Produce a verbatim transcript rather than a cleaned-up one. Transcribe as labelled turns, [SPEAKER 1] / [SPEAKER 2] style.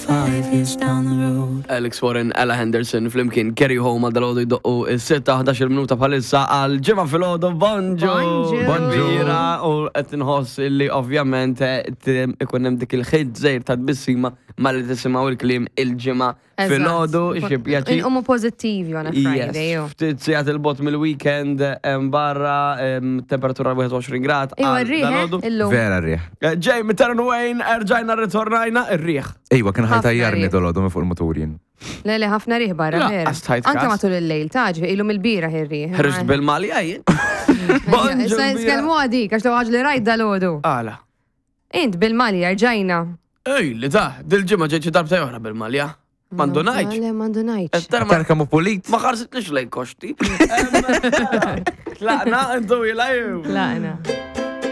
[SPEAKER 1] Five years down the road.
[SPEAKER 2] Alex Warren, Ella Henderson, flimkien Carry Home għal dalgħodu jdoqqu is-sitta ħdax-il minuta bħalissa għal ġimgħa filgħodu. Bonġu.
[SPEAKER 3] Bonġu.
[SPEAKER 4] Bonġu.
[SPEAKER 2] Bira, u qed inħoss illi ovvjament eh, t- ikun hemm dik il-ħid żejr ta' tbissima malli tisimgħu il-kliem il-ġimgħa filgħodu, xi pjaċir.
[SPEAKER 3] Inqumu pożittivi on a Friday.
[SPEAKER 2] Yes,
[SPEAKER 3] ju.
[SPEAKER 2] ftit sigħat il-bogħod mill-weekend em, barra em, temperatura wieħed u għoxrin grad.
[SPEAKER 3] Iwa
[SPEAKER 2] għal
[SPEAKER 3] r-riħ,
[SPEAKER 2] dalgħodu.
[SPEAKER 3] eh, illum.
[SPEAKER 4] Vera rriħ.
[SPEAKER 2] Eh, Ġej mit-Terran Wayne, erġajna ritornajna ir-riħ.
[SPEAKER 4] Ejwa, kien
[SPEAKER 3] Ħafna
[SPEAKER 4] ħajtajjarni
[SPEAKER 3] riħ.
[SPEAKER 4] dolodu minn fuq il-motur jien.
[SPEAKER 3] Le, le, ħafna riħ barra,
[SPEAKER 2] La,
[SPEAKER 3] vera.
[SPEAKER 2] għas tħajt
[SPEAKER 3] Anke
[SPEAKER 2] kas.
[SPEAKER 3] matul il-lejl, taġ, ilu mill-bira ir-riħ.
[SPEAKER 2] Ħriġt bil-malja jien. Bonġu.
[SPEAKER 3] Issa
[SPEAKER 2] Bira.
[SPEAKER 3] Nitkellmu għadik, għax l li rajt dalgħodu.
[SPEAKER 2] Għala.
[SPEAKER 3] Int bil-malja rġajna.
[SPEAKER 2] Ej, li ta' dil-ġimgħa ġejt xi darbta oħra bil-malja. Mandu ngħidx.
[SPEAKER 3] Le, mandu ngħidx.
[SPEAKER 2] Tara ma
[SPEAKER 4] Tara kemm hu pulit.
[SPEAKER 2] ma ħarsitlix lejn koxti. Tlaqna intu jilajju.
[SPEAKER 3] Tlaqna.